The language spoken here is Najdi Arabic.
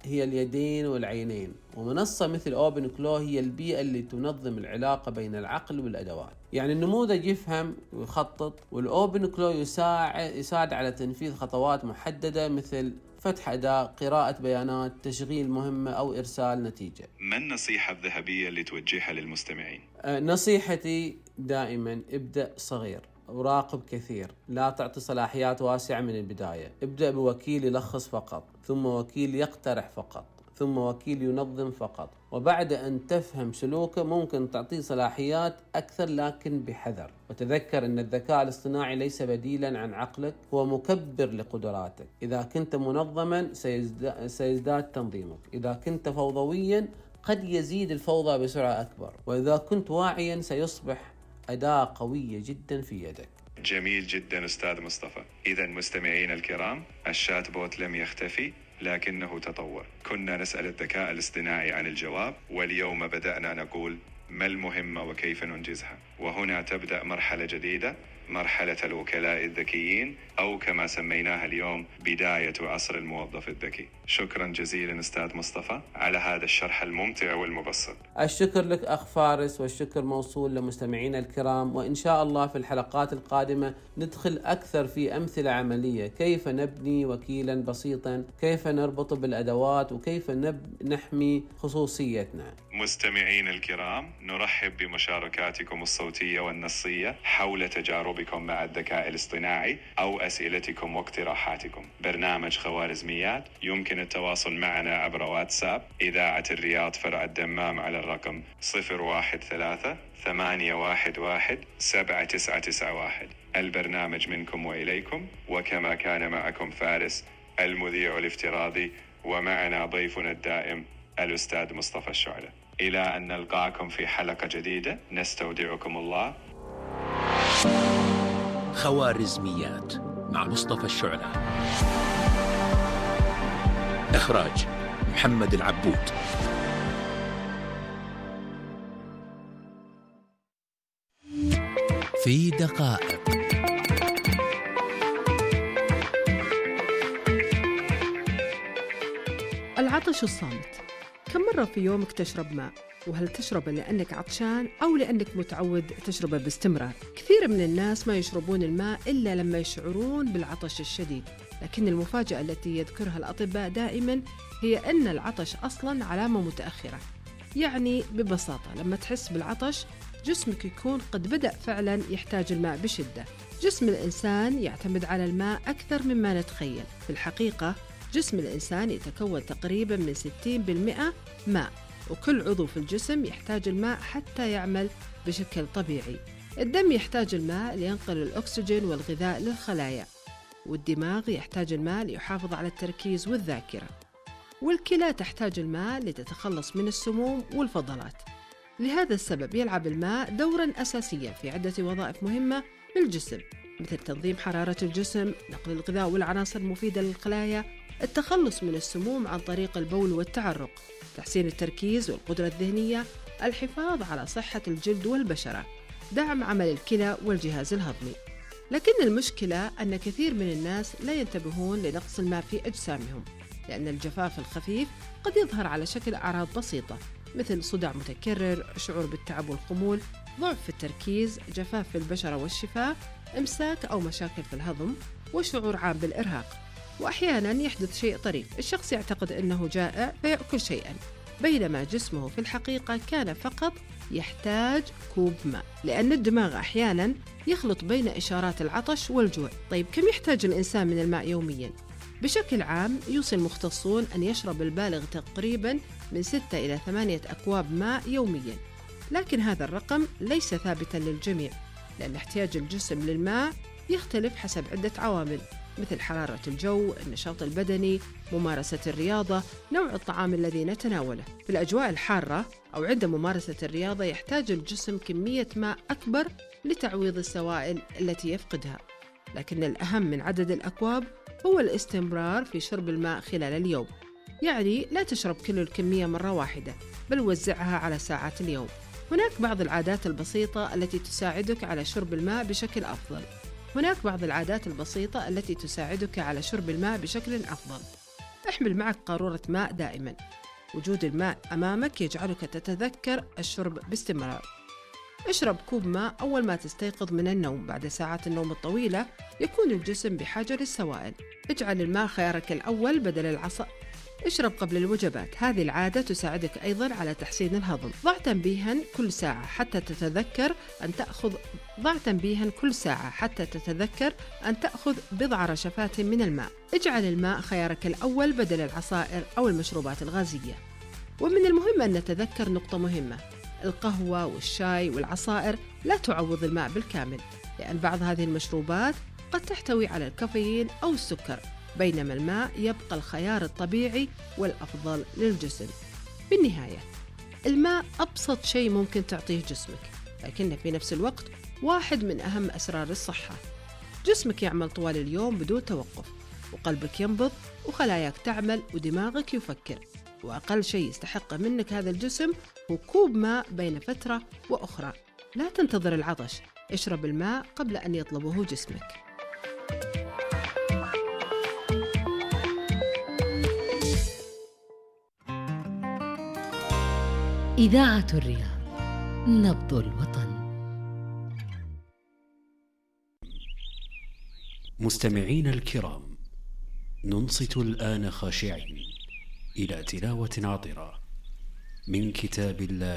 هي اليدين والعينين، ومنصة مثل OpenClaw هي البيئة اللي تنظم العلاقة بين العقل والأدوات. يعني النموذج يفهم ويخطط، والOpenClaw يساعد على تنفيذ خطوات محددة مثل فتح أداة، قراءة بيانات، تشغيل مهمة أو إرسال نتيجة. ما النصيحة الذهبية اللي توجهها للمستمعين؟ نصيحتي دائما ابدأ صغير وراقب كثير، لا تعطي صلاحيات واسعة من البداية. ابدأ بوكيل يلخص فقط، ثم وكيل يقترح فقط، ثم وكيل ينظم فقط، وبعد أن تفهم سلوكه ممكن تعطيه صلاحيات أكثر لكن بحذر. وتذكر أن الذكاء الاصطناعي ليس بديلا عن عقلك، هو مكبر لقدراتك. إذا كنت منظما سيزداد تنظيمك، إذا كنت فوضويا قد يزيد الفوضى بسرعة أكبر، وإذا كنت واعيا سيصبح أداة قوية جدا في يدك. جميل جدا أستاذ مصطفى. إذا مستمعين الكرام، الشات بوت لم يختفي لكنه تطور. كنا نسأل الذكاء الاصطناعي عن الجواب، واليوم بدأنا نقول ما المهمة وكيف ننجزها. وهنا تبدأ مرحلة جديدة، مرحلة الوكلاء الذكيين، أو كما سميناها اليوم بداية عصر الموظف الذكي. شكرا جزيلا أستاذ مصطفى على هذا الشرح الممتع والمبسط. الشكر لك أخ فارس، والشكر موصول لمستمعينا الكرام. وإن شاء الله في الحلقات القادمة ندخل أكثر في أمثلة عملية، كيف نبني وكيلا بسيطا، كيف نربط بالأدوات، وكيف نحمي خصوصيتنا. مستمعين الكرام، نرحب بمشاركاتكم الصوتية والنصية حول تجاربكم مع الذكاء الاصطناعي أو أسئلتكم واقتراحاتكم. برنامج خوارزميات يمكن التواصل معنا عبر واتساب إذاعة الرياض فرع الدمام على الرقم 013-811-7991. البرنامج منكم وإليكم، وكما كان معكم فارس المذيع الافتراضي، ومعنا ضيفنا الدائم الأستاذ مصطفى الشعلة. إلى أن نلقاكم في حلقة جديدة، نستودعكم الله. خوارزميات مع مصطفى الشعلة. إخراج محمد العبود. في دقائق. العطش الصامت. كم مرة في يومك تشرب ماء؟ وهل تشربه لأنك عطشان أو لأنك متعود تشربه باستمرار؟ كثير من الناس ما يشربون الماء إلا لما يشعرون بالعطش الشديد، لكن المفاجأة التي يذكرها الأطباء دائما هي أن العطش أصلا علامة متأخرة. يعني ببساطة لما تحس بالعطش جسمك يكون قد بدأ فعلا يحتاج الماء بشدة. جسم الإنسان يعتمد على الماء أكثر مما نتخيل. في الحقيقة جسم الإنسان يتكون تقريبا من 60% ماء، وكل عضو في الجسم يحتاج الماء حتى يعمل بشكل طبيعي. الدم يحتاج الماء لينقل الأكسجين والغذاء للخلايا، والدماغ يحتاج الماء ليحافظ على التركيز والذاكرة، والكلى تحتاج الماء لتتخلص من السموم والفضلات. لهذا السبب يلعب الماء دوراً أساسياً في عدة وظائف مهمة للجسم، مثل تنظيم حرارة الجسم، نقل الغذاء والعناصر المفيدة للخلايا، التخلص من السموم عن طريق البول والتعرق، تحسين التركيز والقدرة الذهنية، الحفاظ على صحة الجلد والبشرة، دعم عمل الكلى والجهاز الهضمي. لكن المشكلة أن كثير من الناس لا ينتبهون لنقص الماء في أجسامهم، لأن الجفاف الخفيف قد يظهر على شكل أعراض بسيطة مثل صداع متكرر، شعور بالتعب والخمول، ضعف في التركيز، جفاف في البشرة والشفاه، إمساك أو مشاكل في الهضم، وشعور عام بالإرهاق. وأحياناً يحدث شيء طريف، الشخص يعتقد أنه جائع فيأكل شيئاً، بينما جسمه في الحقيقة كان فقط يحتاج كوب ماء، لأن الدماغ أحياناً يخلط بين إشارات العطش والجوع. طيب كم يحتاج الإنسان من الماء يومياً؟ بشكل عام يوصي المختصون أن يشرب البالغ تقريباً من 6 إلى 8 أكواب ماء يومياً، لكن هذا الرقم ليس ثابتاً للجميع، لأن احتياج الجسم للماء يختلف حسب عدة عوامل، مثل حرارة الجو، النشاط البدني، ممارسة الرياضة، نوع الطعام الذي نتناوله. في الأجواء الحارة أو عند ممارسة الرياضة يحتاج الجسم كمية ماء أكبر لتعويض السوائل التي يفقدها، لكن الأهم من عدد الأكواب هو الاستمرار في شرب الماء خلال اليوم. يعني لا تشرب كل الكمية مرة واحدة، بل وزعها على ساعات اليوم. هناك بعض العادات البسيطة التي تساعدك على شرب الماء بشكل أفضل. احمل معك قارورة ماء دائما. وجود الماء أمامك يجعلك تتذكر الشرب باستمرار. اشرب كوب ماء أول ما تستيقظ من النوم. بعد ساعات النوم الطويلة يكون الجسم بحاجة للسوائل. اجعل الماء خيارك الأول بدل العصائر. اشرب قبل الوجبات. هذه العادة تساعدك أيضا على تحسين الهضم. ضع تنبيها كل ساعة حتى تتذكر أن تأخذ بضع رشفات من الماء. اجعل الماء خيارك الأول بدل العصائر أو المشروبات الغازية. ومن المهم أن نتذكر نقطة مهمة: القهوة والشاي والعصائر لا تعوض الماء بالكامل، لأن بعض هذه المشروبات قد تحتوي على الكافيين أو السكر، بينما الماء يبقى الخيار الطبيعي والأفضل للجسم. بالنهاية، الماء أبسط شيء ممكن تعطيه جسمك، لكنه في نفس الوقت واحد من أهم أسرار الصحة. جسمك يعمل طوال اليوم بدون توقف، وقلبك ينبض، وخلاياك تعمل، ودماغك يفكر، وأقل شيء يستحق منك هذا الجسم هو كوب ماء بين فترة وأخرى. لا تنتظر العطش، اشرب الماء قبل أن يطلبه جسمك. إذاعة الرياض، نبض الوطن. مستمعين الكرام، ننصت الآن خاشعين إلى تلاوة عطرة من كتاب الله